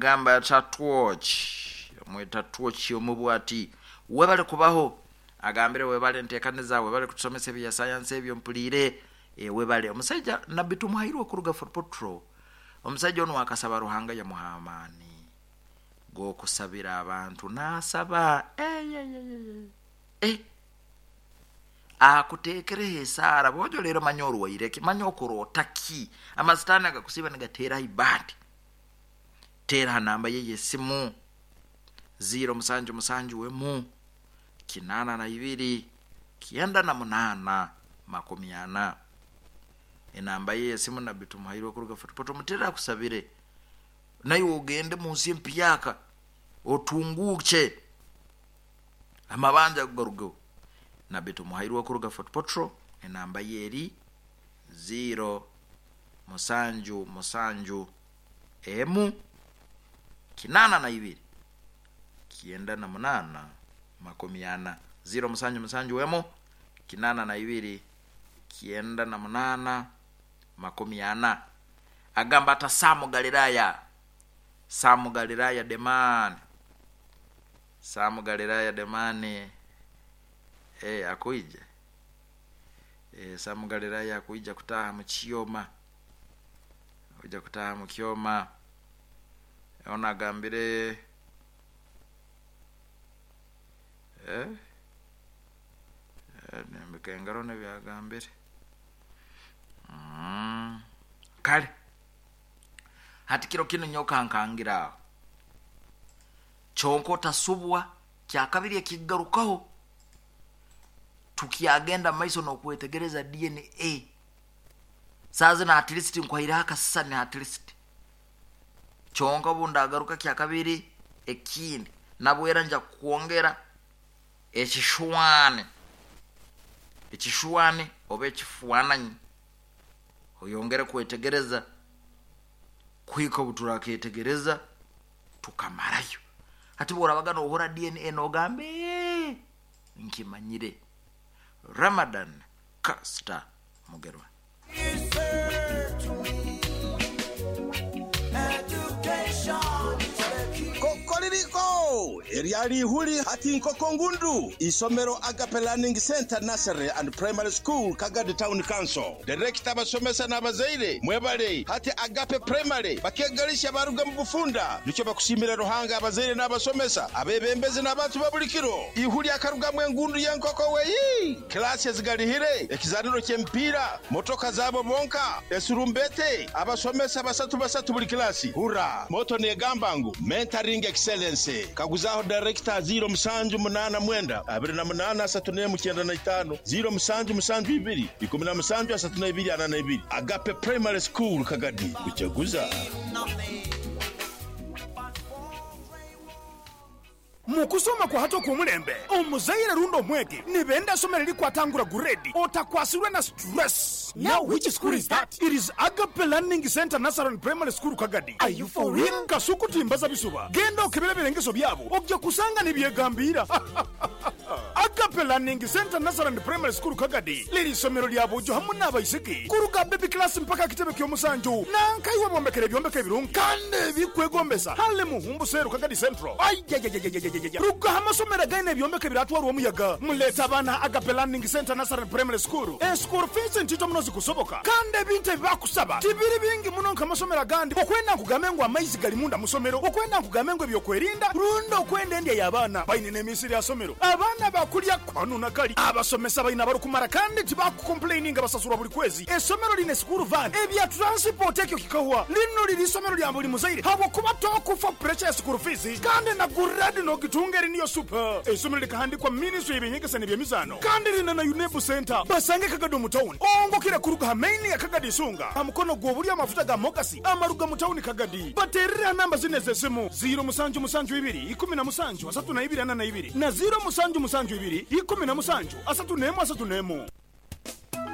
Agamba ata Twoch, omweta Twoch omu bwati, Webale kubaho. Agambire webale ntekaniza, webale kutusomesa ebya sayansi ebyo mpuliire. Ee webale. Omusaija Nabbi Tumuhairwe okuruga Fort Portal, omusaija onu akasaba Ruhanga yamuha amaani g'okusabira abantu n'asaba. Eyeyeyeye. Eh! Akuteekereho esaara bwojo leero manya orwaire ki, manya okuroota ki. Amasitaani agakusiiba nigateera ha ibaati. Teera ha namba ye y'esimu, ziiro musanju musanju emu, kinaana na ibiri, 98 40. Enamba ye y'esimu Nabbi Tumuhairwe kuruga Fort Portal omuteerere akusabire. Naiwe ogende mu nsi empyaka otunguukye. Amabanja ago garugeho. Nabbi Tumuhairwe kuruga Fort Portal enamba ye eri ziiro musanju musanju emu 82 98 40. Ziiro musanju musanju emu 82 98 40. Agamba ata Sam Galilaya, Sam Galilaya the man. Sam Galilaya the man eh akwija eh Sam Galilaya akwija kutaaha mu kyoma akwija kutaaha mu kyoma ono agambire eh eh nembika engaro nebyagambire mm kale hati kiro kinu nyowe kankangira aho. Kyonka otasubwa, kyakabiri ekikugarukaho, tukyagenda mumaiso nokwetegereza DNA. Saaha zinu at least nkuhaireho akasisani at least. Kyonka obundagaruka kyakabiri ekindi, nabwo era nja kukwongera ekishwani, ekishwani oba ekifwananyi oyongere kwetegereza kuhika obuturaketegereza. Tukamarayo. Hati bworabaga nohura DNA nogamba eeh nkimanyire. Ramadan Kasita Mugerwa. Kokoririko! Eryali ihuli hati nkoko ngundu! Isomero Agape Learning Centre Nursery and Primary School Kagadi Town Council. Direkita, abasomesa n'abazaire mwebale. Hati Agape Primary bakegalisha baruga mu bufunda. Nikyo bakusiimira Ruhanga abazaire n'abasomesa, abebembezi n'abantu ba buli kiro. Ihu lyakarugamu engundu y'enkoko weii! Kilaasi ezigalihire, ekizaaniro ky'emipiira, motoka zaabo bonka, esurumbete, abasomesa basatu basatu buli kilaasi. Hurra! Motto neegamba ngu Mentoring Excellence. Kaguzaho dayirekita 0789 28 31 95, 0772 17 32 42. Agape Primary School Kagadi, kujaguza. Mu kusoma kwa hati okw'omulembe, omuzaire rundi omwegi nibenda isomero erikwatangura guredi otakwasirwe na stress. Now which school is that? It is Agape Learning Centre Nursery and Primary School Kagadi. Are you for real? Kasuku timbaza bisuba, genda okebere ebirengeso byabo oja kusanga nibyegambiira. Agape Learning Centre Nursery and Primary School Kagadi liri isomero lya bojo hamu n'abaisiki kuruga baby class mpaka kitebe ky'omusanju. Nanka iwe bombekere ebyombeko ebirungi kandi ebikwegombesa hale Muhumbu Seru Kagadi Central. Ayayayayayaya ruga aha masomero againe ebyombeko ebiratwarwa omuyaga muleete abaana aha Agape Learning Centre Nursery and Primary School. Eschool fees ntito muno zikusoboka kandi ebintu ebibakusaba tibiri bingi muno nk'amasomero agandi okwenda nkugambe ngu amaizi gali munda musomero, okwenda nkugambe ngu ebyokwerinda rundi okwenda endya y'abaana. Baine n'emisiri aha somero abaana bakulya kanu na kali. Abasomesa baine abarikumara kandi tibakukompuleininga basasurwa buri kwezi. Esomero liine sikuuru vaani, ebya turansipooti ekyo kikahwa. Linu riri isomero lya buri muzaire habw'okuba tokufa puresha ya sikuuru fiizi kandi na guredi nogitunga eri niyo supa. Eisomero likahandikwa minisitule y'eby'enyegesa n'eby'emizaano kandi riine na UNEB Centre. Basange Kagadi omu tawuni ongokire kuruga aha maini ya Kagadi Isunga aha mukono gw'oburyo amafuta ga Mogasi amaruga mu tawuni Kagadi. Bateerere aha namba zinu ez'esimu, ziiro musanju musanju ibiri 17 32 42 na ziiro musanju musanju ibiri 17 31 31.